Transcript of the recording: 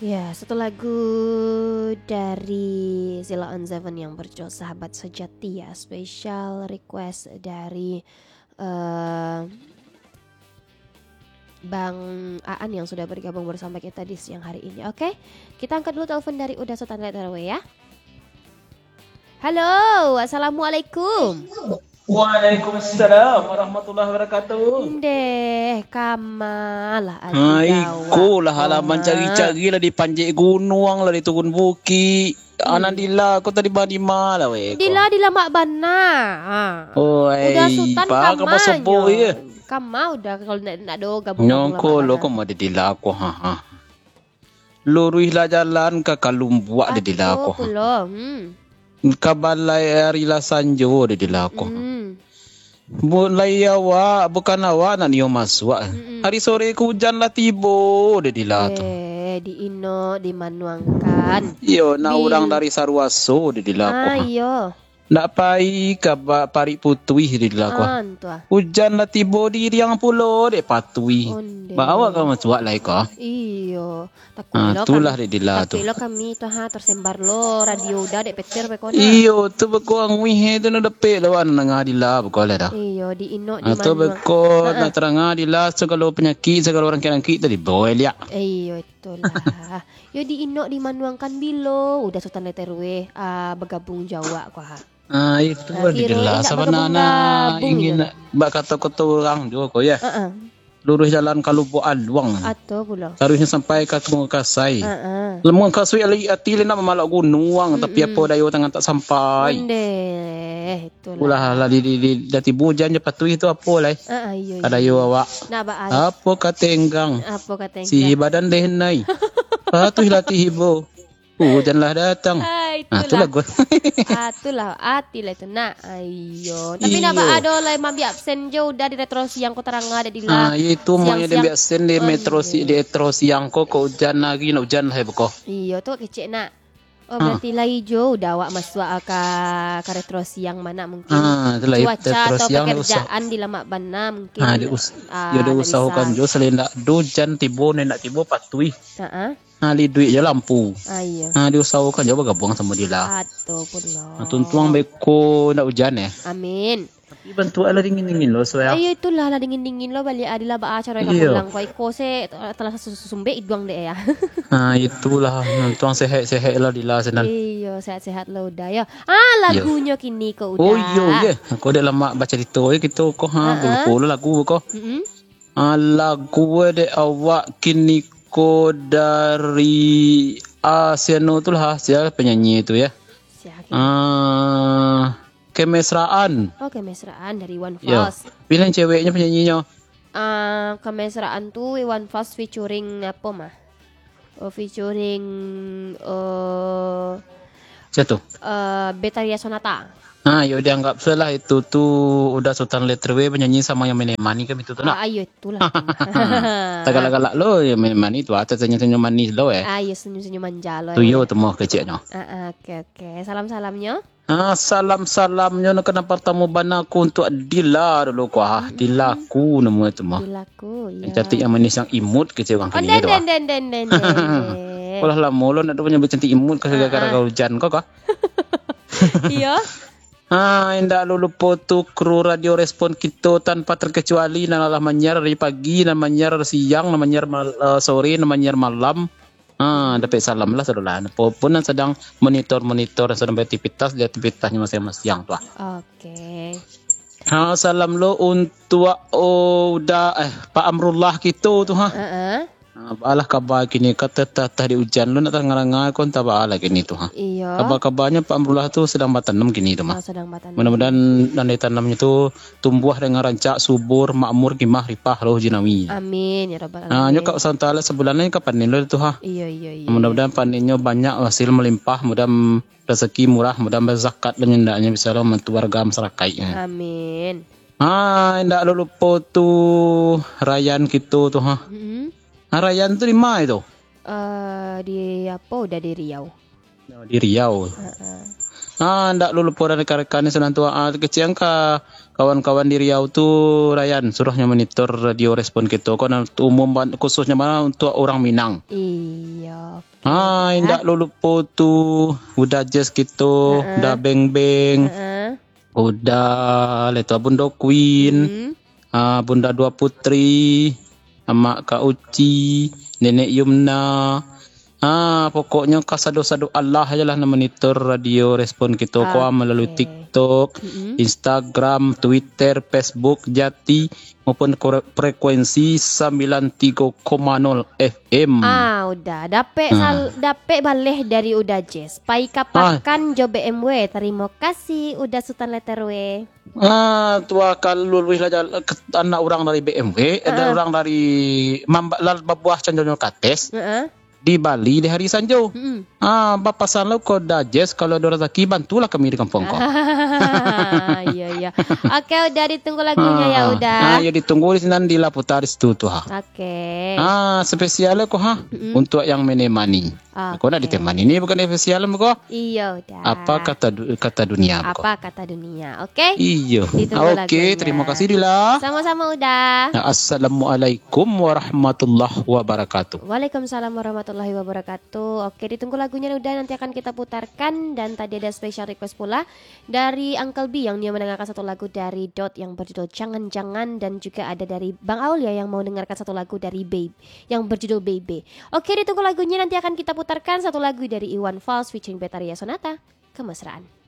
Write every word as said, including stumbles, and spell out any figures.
Ya, satu lagu dari Sheila on Seven yang berjudul Sahabat Sejati ya, special request dari eh, Bang Aan yang sudah bergabung bersama kita di siang hari ini. Oke, kita angkat dulu telepon dari Uda Sutan Letter W ya. Halo, assalamualaikum. Waalaikumsalam warahmatullahi wabarakatuh. Ndeh, kamalah ati. Ha, iko lah, alah mancari-cari lah, di panjek gunuang lah, di turun bukik. Anak Dila, ko tadi ba di ma lah weh ko? Dila, Dila mak bana. Ha. Oh, Uda ai, Sutan pa ka kama basobok nyo? Ye. Kama Uda kalau nak, nak do gabung-gabung. Nyongko lah lo bana. Ko ma di Dila ko, ha, ha. Luruihlah jalan ka Kalumbuak di Dila ko. Ato pulo, hmm. Ka balai ari lah sanjo di Dila ko. Hmm. Mulai awak, bukan awak nak nio masuak. Mm-mm. Ari sore ko ujan lah tibo di Dila tu. Eh, di ino dimanuangkan. Iyo, nak urang dari Saruaso di Dila ko. Ah, iyo. Nak pai ka ba-, parik putuih di Dila ko. Ah, ntuah. Ujan lah tibo di riang pulo dek patuih. Onde. Ba awak ka masuak lai ko. Iyo. Takui lo kami. Ah, itulah dek Dila tu. Takui lo kami tu, ha, tersembar lo radio Uda dek petir beko nah. Iyo, tu beko anguih tu nak dapek lo, wak nangah Dila beko lah dah. Iyo, di inok, di manuang. Ah, tu beko nak tarangah Dila, sagalo panyakik, sagalo rangkik-rangkik tadi bawa liak. Iyo, itulah. Yo di inok dimanuangkan bilo, Uda Sutan Letter W, ah, bagabung jo awak ko ha. Ah, itu. Ah, kiro Dila indak sabananyo bagabung-gabung ingin nak bakato-kato urang juo ko, ya. Heeh. Luruih jalan ka Lubuak Aluang. Ato pulo. Saruihnyo sampai ka Mangkasai. Heeh. Lamun Mangkasai lai ati lai nak mamalak gunuang, tapi apo dayo tangan tak sampai. Ondeh, itulah. Ulah lah di, di, di, dah tibo ujan jo patuih tu apo lai. Heeh, iyo, iyo. Ka dayo awak. Nak ba ai. Apo ka tenggang. Apo ka tenggang. Si badan deh nai. Patuih lah tibo. Ujan lah datang. Ah, itulah. Ah, itulah gua. Ah, itulah ati lah itu nak. Ayo. Tapi nak ba ado lai mambi absen jo Uda di Retro Siang ko tarangah dek Dila. Ah, iyo itu siang-siang. Mambi absen di Metro si-, di Retro Siang ko, ko ujan lagi, nak ujan lah ya beko. Iyo tu kecek nak. Oh, berarti lai jo Uda awak masuak ka, ka Retro Siang ma nak mungkin. Ah, itulah, cuaca atau pekerjaan di lamak bana mungkin. Ah, dius-, ah, yo diusahokan jo, selain nak do ujan tibo, nak tibo patuih. Heeh. Ha, liduik jo lampu. Ah, iyo. Ha, diusahokan jo bagabuang samo Dila. Ato pulo. Ha, tuntuang beko ndak ujan, eh. Amin. Tapi bantuak lah dingin-dingin lo, suah. Ayo, itulah lah dingin-dingin lo, baliak Dila ba acara ka pulang ko. Iko se telah susumbek iduang dek ya. Ha, itulah, tuntuang sehat-sehat lah Dila sinan. Iyo, sehat-sehat lo Uda yo. Ah, lagunyo kini ko Uda. Oh, iyo, ye. Ko dek lamak bacarito, ye, kito ko, ha, heeh, beko lo lagu ko. Mm-mm. Ah, lagu dek awak kini ko dari, ah, si anu tu lah, sia penyanyi tu ya. Sia, Kim? Ah, Kemesraan. Oh, Kemesraan dari Iwan Fals. Yo. Pilihan ceweknyo penyanyinnyo. Ah, Kemesraan tu Iwan Fals featuring apo mah? Oh, featuring, eh, siapa tu? Eh, Betharia Sonata. Ha, yo dianggap salah itu tu Uda Sutan Letter W bernyanyi samo yang Mene Mani kan itu tu nak. Ah, ayo itulah. Tak galak-galak lo yang Mene Mani tu, ah, senyum-senyum manis lo eh. Ah, iyo senyum-senyum manja lo. Tu eh. Yo temu keceknyo. Ah, ah, oke oke. Salam-salamnyo. Ah, salam-salamnyo nak kena pertama bana ku untuk Dila dulu ku ah. Hmm. Dila ku nama itu mah. Dila ku, yang cantik, yang manis, yang imut kecek urang kini tu ah. Oh, den, den, den, den, den. Alah lamo lo nak tu punya cantik imut ka gara-gara hujan ko kah? Iyo. Ha, indak lo lupo tu kru radio Respon kito tanpa terkecuali, nan lah manyiar dari pagi, nan manyiar siang, nan manyiar mal-, eh, sore, nan manyiar malam. Ha, dapek salam lah sadolah. Apo pun nan sadang monitor-monitor, nan sadang beraktivitas di aktivitasnyo masing-masing tu ah. Oke. Ha, salam lo untuak, oh, Uda, eh, Pak Amrullah kito tu ha. Heeh. Ha, baalah kaba kini, ka tatah-tatah di ujan lo nak tangah-tangah ko, antah baalah kini tu ha. Iyo. Kaba-kabanyo Pak Amrullah tu sadang batanam kini tu mah. Oh, sadang batanam. Mudah-mudahan nan ditanamnyo tu tumbuah dengan rancak, subur, makmur, gimah, ripah, roh jinawi. Amin ya rabbal alamin. Ha, nyo ka santala sabulan lai ka panen lo tu ha. Iyo, iyo, iyo. Mudah-mudahan panennyo banyak, hasil melimpah, mudah rezeki murah, mudah berzakat dan hendaknya bisa lah membantu warga masyarakat. Amin. Ha, indak lo lupo tu Rayan kito tu ha. Mm-mm. Ha, Rayan tu di ma itu? Eh, di apo Uda di Riau. Di Riau. Heeh. Ha, ndak lo lupo dari rekan-rekan ni senang tu. Ah, kecek ka kawan-kawan di Riau tu, Rayan, suruh nyo monitor radio Respon kito. Ko nan umum ban-, khususnyo bana untuk urang Minang. Iyo. Ah, indak lo lupo tu, Uda Jess kito, Heeh. Uda Beng Beng, Heeh. Uda Leto Bunda Queen, Hmm. ah, Bunda Dua Putri, Amak Kak Uci, Nenek Yumna. Ah, pokoknyo kasado-sado alah ajo lah nan monitor radio Respon kito ko, ah, malalui Oke. TikTok, Mm-mm. Instagram, Twitter, Facebook, Jati, maupun kore-, frekuensi sambilan tigo koma nol F M. Ah, Uda. Dapek Ah. sal-, dapek baleh dari Uda Jess. Pai ka Ah. pakan jo B M W. Tarimo kasih, Uda Sutan Letter W. Ah, tu akal luluih lah jal-, ke-, anak urang dari B M W, ada Ah. urang dari mamba-, lal babuah canjonyo kates. Heeh. Di Bali di hari Sanjo. Mm-mm. Ah, bapasan lo ko Uda Jess, kalau ado razaki, bantulah kami di kampuang ko. Iya, iya. Oke, Uda, ditunggu lagunya ya, Ah, Uda. Ah, yo ditunggu di sinan di Laputa di situ tu, ha. Oke. Ah, spesial ko, ha, Mm-mm. untuk yang menemani. Ko nak Oke. ditemani ni bukan spesial ko. Iya, Uda. Apa kata du-, kata dunia ko? Apa kata dunia, oke? Iya. Ditunggu Oke, lagunya. terima kasih, Dila. Sama-sama, Uda. Assalamualaikum warahmatullahi wabarakatuh. Waalaikumsalam warahmatullahi wabarakatuh. Oke, ditunggu lagunya, Uda, nanti akan kita putarkan. Dan tadi ada special request pula dari Uncle B yang dia mendengarkan satu lagu dari Dot yang berjudul Jangan-Jangan, dan juga ada dari Bang Aulia yang mau dengarkan satu lagu dari Babe yang berjudul Baby. Oke, ditunggu lagunya, nanti akan kita putarkan satu lagu dari Iwan Fals featuring Betharia Sonata, Kemesraan.